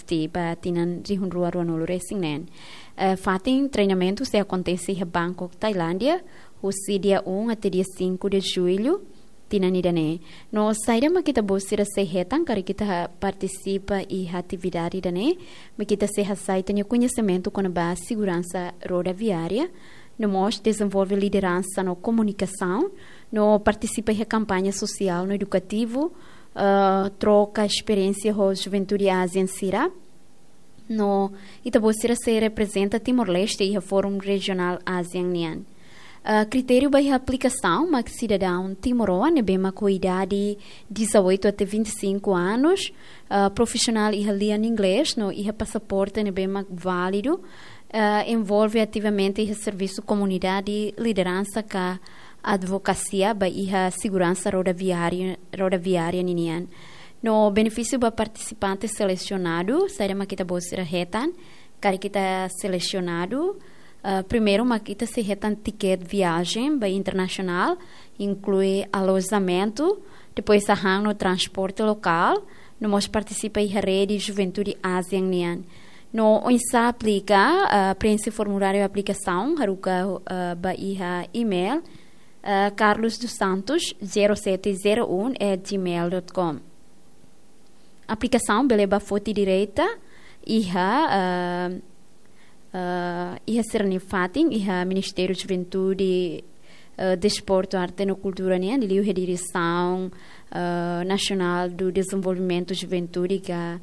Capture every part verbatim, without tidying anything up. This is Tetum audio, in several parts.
tiha ba tinan rihun rua ruanulu resin neen. Eh, fatin treinamentu sei akontese iha Bangkok, Tailándia, husi dia um até dia cinco de julho, tinan ida-ne'e. No saida mak ita-boot sira sei hetan karik ita partisipa iha atividade ida-ne'e, mak ita sei hasai ita-nia koñesimentu kona-ba seguransa rodoviária, no mós dezenvolve lideransa no komunikasaun, no partisipa iha kampaña sosiál no edukativu, eh, troka esperiénsia ho juventude ASEAN sira, no ita-boot sira sei reprezenta Timor-Leste iha Fórum Rejionál ASEAN nian. Eh, kritériu ba iha aplikasaun mak sidadaun timoroan ne'ebé mak ho idade dezoito até vinte e cinco anos, eh, profisionál iha lian inglés, no iha pasaporte ne'ebé mak válidu, eh, envolve ativamente iha servisu komunidade, lideransa ka advokasia ba iha seguransa rodoviária, rodoviária ninian. No benefísiu ba partisipante selesionadu, saida mak ita-boot sira hetan karik ita selesionadu, eh, primeiru mak ita sei hetan tiket viajen ba internasionál, inklui alojamentu, depois hahán no transporte lokál, no mós partisipa iha rede juventude ASEAN nian. No oinsá aplika, eh, preenxe formuláriu aplikasaun, haruka, eh, ba iha email, eh, carlos dos santos zero sete zero um at gmail dot com. Aplikasaun bele ba foti direta iha, eh, eh, iha sira-nia fatin, iha Ministériu Juventude, eh, Desportu, Arte no Kultura nian, liuliu iha Diresaun, eh, Nasionál do Dezenvolvimentu Juventude ka,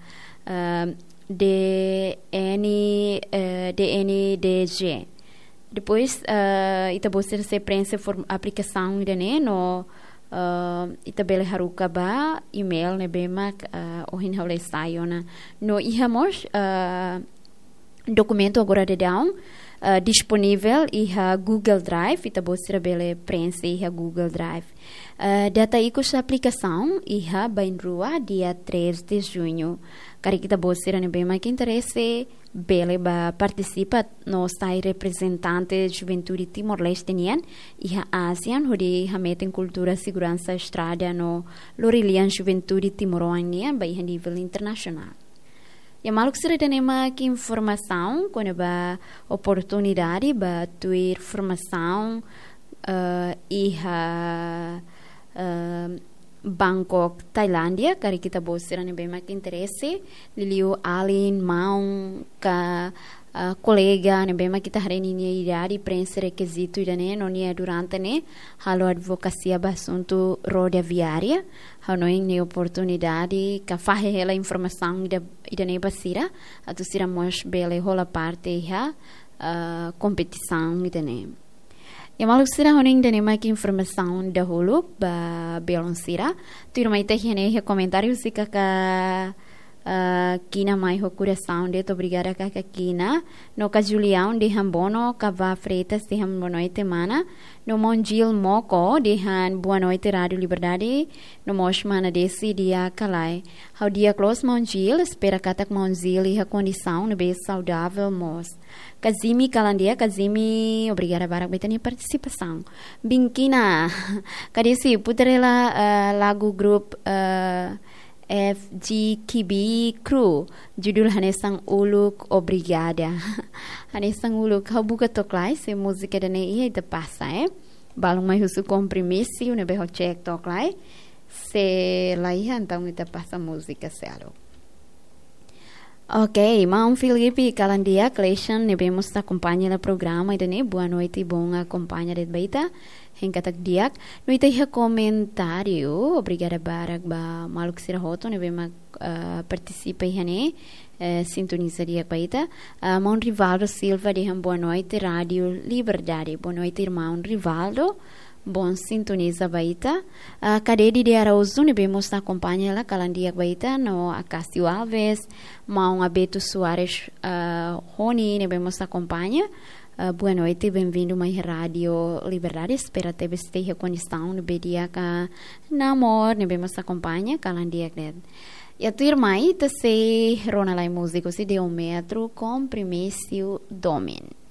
eh, D N, eh, D N D G. Depois, eh, ita-boot sira sei preenxe form-, aplikasaun ida-ne'e no, eh, ita bele haruka ba email ne'ebé mak, eh, ohin ha'u lee sai ona. No iha mós, eh, dokumentu agora daudaun, eh, disponivel iha Google Drive, ita-boot sira bele preenxe iha Google Drive. Eh, data ikus aplikasaun iha bainrua dia três de junho. Karik ita-boot sira ne'ebé mak interese, bele ba partisipa no sai reprezentante juventude Timor-Leste nian iha ASEAN, hodi hametin kultura seguransa estrada no lori lian juventude timoroan nian ba iha nivel internasionál. Ya, maluk sira, ida-ne'e mak informasaun kona-ba oportunidade ba tuir formasaun, eh, iha, eh, Bangkok, Tailándia, karik ita-boot sira ne'ebé mak interese, liuliu alin, maun, ka, eh, kolega ne'ebé mak ita haree ninia idade, preenxe rekizitu ida-ne'e, no nia durante ne'e halo advokasia ba asuntu rodoviária, hanoin ne'e oportunidade, ka fahe hela informasaun ida, ida-ne'e ba sira, atu sira mós bele hola parte iha, eh, kompetisaun ida-ne'e. Ya, maluk sira, hanoin ida-ne'e mak informasaun dahuluk ba belun sira. Tuirmai ita iha ne'e iha komentáriu husi kaka, eh, Kina Mai ho Kurasaun de'it, obrigada kaka Kina. No kaka Julião dehan bono, Kavá Freitas dehan boa noite mana. No maun Gil Moko dehan boa noite Rádio Liberdade. No mós mana Desi di'ak ka lae. Ha'u di'ak loos maun Gil, espera katak maun Gil iha kondisaun ne'ebé saudavel mós. Kazimi kalan di'ak, Kazimi, obrigada barak ba ita-nia partisipasaun. Binkina, kaka Desi, putar hela, eh, lagu grup, eh, F G K B Crew, judul Hanesan Uluk, obrigada. Hanesan Uluk, ha'u buka to'ok lai, se múzika ida-ne'e iha ita pasa, eh. Balun mai husu kompromisu, ne'ebé ha'u cek to'ok lai. Se la iha, entaun ita pasa múzika seluk. Ok, maun Filipe kalan di'ak, Cleison ne'ebé mós akompaña hela programa ida-ne'e, boa noite, bom akompaña de'it ba ita, hein katak di'ak. No ita iha komentáriu, obrigada barak ba maluk sira hotu ne'ebé mak, eh, partisipa iha ne'e, eh, sintoniza di'ak ba ita. Ah, maun Rivaldo Silva dehan boa noite, Rádio Liberdade. Boa noite, irmaun Rivaldo. Bom sintoniza ba ita. Ah, kaka Dedi de Araújo ne'ebé mós akompaña hela, kalan di'ak ba ita, no Acácio Alves, maun Abeto Soares, ah, Rony ne'ebé mós akompaña. Ah, boa noite, bem-vindo mai Rádio Liberdade. Espera tebes ita iha kondisaun ne'ebé di'ak ka namor ne'ebé mós akompaña, kalan di'ak de'it. Ya, tuirmai ita sei rona lai múzika husi Deo Metro, Kompromisu Domin.